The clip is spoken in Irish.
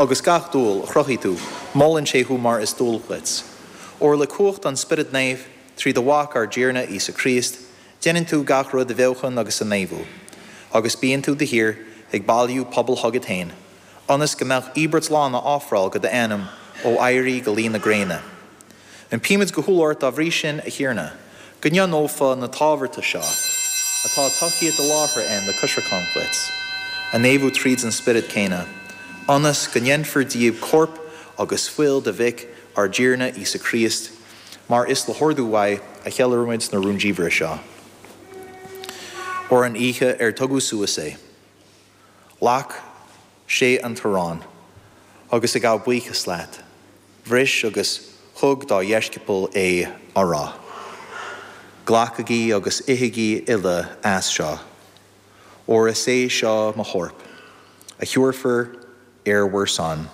Agus gach dúil a chruthaigh tú, molann sé thú mar is dual dhuit. Óir le cumhacht an Spioraid Naoimh, trí do Mhac ár dTiarna Íosa Críost, déanann tú gach rud a bheochan agus a naomhú. Agus bíonn tú de shíor ag bailiú pobal chugat féin, ionas go mbeadh íobairt lán á ofráil go d'ainm ó éirí go luí na gréine. Impímid go humhal ort dá bhrí sin, a Thiarna, go ndeonófá na támharta seo, atá tugtha i láthair a'inn le coisreacan dhuit, a naomhú tríd an Spiorad céanna, ionas go ndéanfar díobh corp agus fuil do Mhic, ár dTiarna Íosa Críost, mar is le hordú uaidh a cheiliúraimid na rúndiamhra seo. Óir an oíche ar tugadh suas é, ghlac sé an t-arán, agus ag gabháil buíochas leat, bhris agus thug dá dheisceabail é, á rá, Glacaigí agus ithigí uile as seo, óir is é seo mo chorp, a thiúrfar ar bhur son.